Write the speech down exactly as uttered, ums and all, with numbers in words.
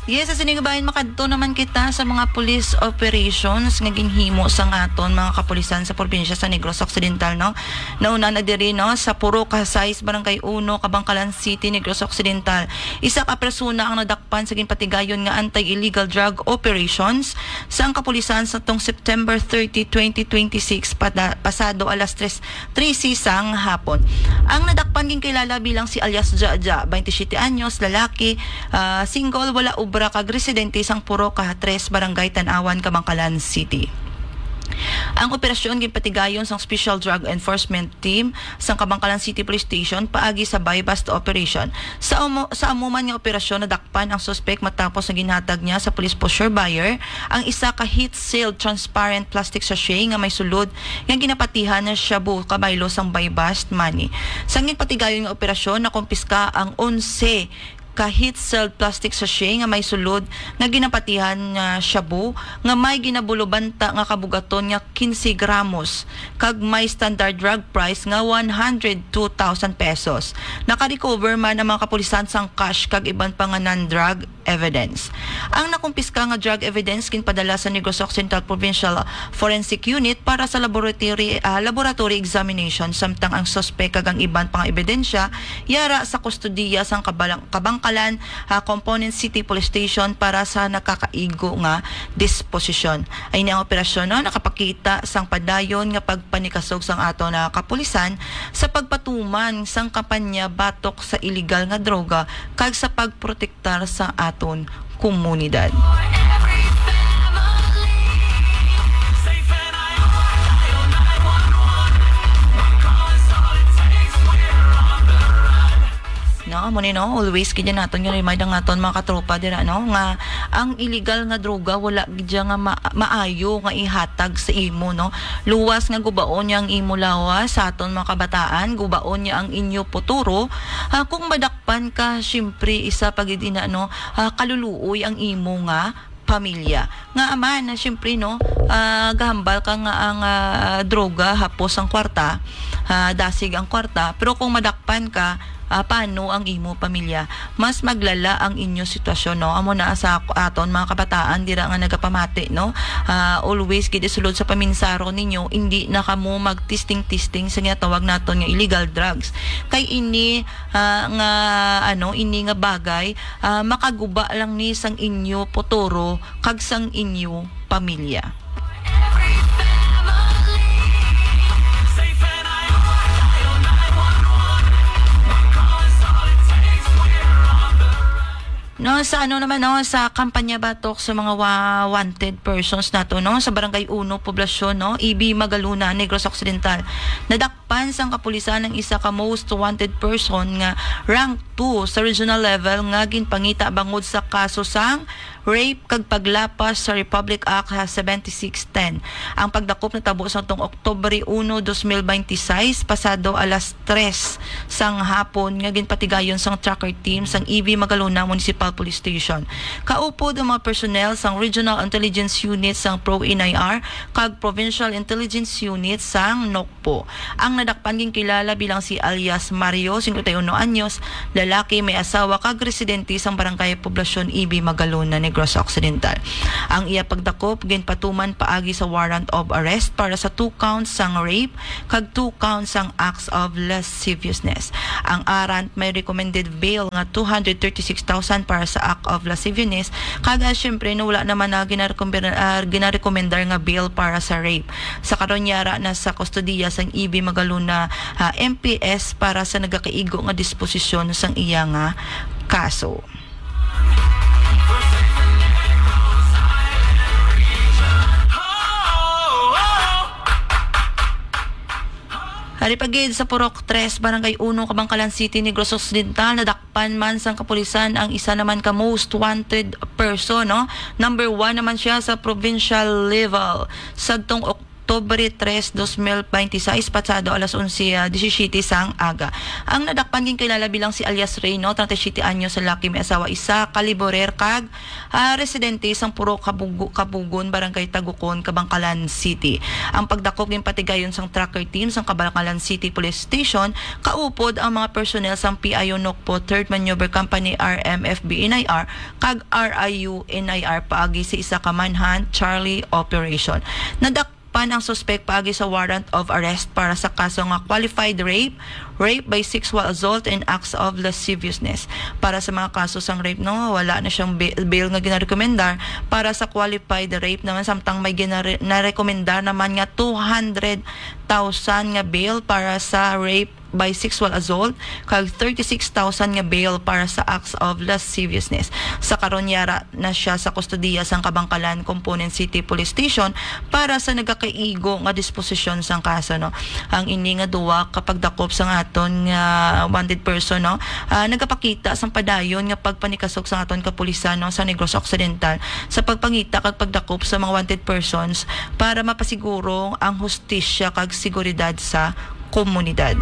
Yes, sa sining bahin, makadto naman kita sa mga police operations nga ginhimo sang aton mga kapulisan sa probinsya sa Negros Occidental, no? Nauna na diri, no, sa Purok Sais, Barangay Uno, Kabankalan City, Negros Occidental. Isa ka persona ang nadakpan sa ginpatigayon nga anti-illegal drug operations sang kapulisan sa tong September thirty, twenty twenty-six, pada-, pasado alas tres trese sang hapon. Ang nadakpan ginkilala bilang si alias Jaja, twenty-siyete anyos, lalaki, ah, single, wala obra, kag residente sang Purok Tres, Barangay Tan-awan, Kabankalan City. Ang operasyon ginpatigayon sang Special Drug Enforcement Team sang Kabankalan City Police Station paagi sa buy-bust operation. Sa amo, sa amo man nga operasyon, nadakpan ang suspek matapos nga ginhatag niya sa police poseur buyer ang isa ka heat-sealed transparent plastic sachet nga may sulod nga ginapatihan nga shabu kabaylo sang buy-bust money. Sa ginpatigayon nga operasyon, nakumpiska ang onse ka heat-sealed plastic sachet nga may sulod nga ginapatihan nga shabu nga may ginabulobanta nga kabugaton nga quince gramos kag may standard drug price nga one hundred two thousand pesos. Nakarecover man ang mga kapulisan sang cash kag iban pa nga non-drug evidence. Ang nakumpiska nga drug evidence ginpadala sa Negros Occidental Provincial Forensic Unit para sa laboratory, ah, laboratory examination, samtang ang suspek kag ang iban pa nga ebidensya yara sa kustodiya sang Kabalang-, Kabankalan, ah, Component City Police Station para sa nagkakaigo nga disposisyon. Ay ni ang operasyon, no, nakapakita sang padayon nga pagpanikasog sang aton nga kapulisan sa pagpatuman sang kampanya batok sa iligal nga droga kag sa pagprotektar sa aton komunidad. No, amo ni, no, always gid naton nga remind ang aton mga katropa dira, no, nga ang illegal nga droga wala gid siya nga ma-, maayo nga ihatag sa imo, no. Luwas nga gubaon niya ang imo lawas sa aton mga kabataan, gubaon niya ang inyo futuro. Ah, kung madakpan ka, siyempre, isa pa gid ina, no, ah, kaluluoy ang imo nga pamilya. Nga ama na, siyempre, no, ah, gahambal ka nga ang, ah, droga hapos ang kwarta, ah, dasig ang kwarta, pero kung madakpan ka, ah, paano ang imo pamilya? Mas maglala ang inyo sitwasyon, no? Amo na sa ak-, aton mga kabataan dira nga nagapamati, no? Ah, always gid isulod sa paminsaron ninyo, indi na kamo magtisting-tisting sa ginatawag naton nga illegal drugs. Kay ini, ah, nga, ano, ini nga bagay, ah, makaguba lang ni sang inyo futuro kag sang inyo pamilya. No, sa ano naman, no, sa kampanya batok sa mga wa-, wanted persons nato, no, sa Barangay Uno, Poblacion, no, E B Magalona, Negros Occidental. Nadakpan sang kapulisan ang isa ka most wanted person nga rank two sa regional level nga ginpangita bangod sa kaso sang rape kag paglapas sa Republic Act, ha, seventy-six ten. Ang pagdakop natabo sa tong Oktubre uno, dos mil binte y seis, pasado alas tres sang hapon, nga ginpatigayon sang tracker team sang E V Magalona Municipal Police Station. Kaupod ang mga personnel sang Regional Intelligence Unit sang Pro N I R kag Provincial Intelligence Unit sang NOCPO. Ang nadakpan ginkilala bilang si alias Mario, singkwenta y uno anyos, lalaki, may asawa kag residente sang Barangay Poblacion E B Magalona, Negros Occidental. Ang iya pagdakop ginpatuman paagi sa warrant of arrest para sa two counts sang rape kag two counts sang acts of lasciviousness. Ang arrant may recommended bail nga two hundred thirty-six thousand para sa act of lasciviousness, kag, ah, siyempre, no, wala naman na ginarekomenda-, ah, ginarekomendar nga bail para sa rape. Sa karon, yara na sa kustodiya sang E V Magalona, ah, M P S para sa nagakaigo nga disposisyon sang iya nga kaso. Ari pa gid sa Purok Tres, Barangay Uno, Kabankalan City, Negros Occidental, nadakpan man sang kapulisan ang isa naman ka most wanted person, no? Number one naman siya sa provincial level. Sadtong Oc-, Oktubre tres, dos mil bente seis, pasado alas onse, ah, disisiyete sang aga. Ang nadakpan ginkilala bilang si alias Reyno, treinta y siete anyos, lalaki, may asawa isa, kaliborer, kag, ah, residente sang Purok Kabugu-, Kabugon, Barangay Tagukon, Kabankalan City. Ang pagdakop ginpatigayon sang tracker team sang Kabankalan City Police Station, kaupod ang mga personnel sang P I O Nokpo Third Maneuver Company, R M F B N I R, kag R I U N I R paagi sa isa ka manhunt charlie operation. Nadakpan ang suspek paagi sa warrant of arrest para sa kaso nga qualified rape, rape by sexual assault, and acts of lasciviousness. Para sa mga kaso sang rape, no, wala na siyang ba-, bail nga ginarekomendar. Para sa qualified rape naman, samtang may ginare-, narekomendar naman nga two hundred thousand nga bail para sa rape by sexual assault, kag thirty-six thousand nga bail para sa acts of lasciviousness. Sa karon, yara na siya sa kustodiya sang Kabankalan Component City Police Station para sa nagakaigo nga disposisyon sang kaso, no. Ang ini nga duwa ka pagdakop sang aton nga wanted person, no, ah, nagapakita sang padayon nga pagpanikasok sang aton kapulisan, no, sa Negros Occidental sa pagpangita kag pagdakop sa mga wanted persons para mapasiguro ang hustisya kag seguridad sa komunidad.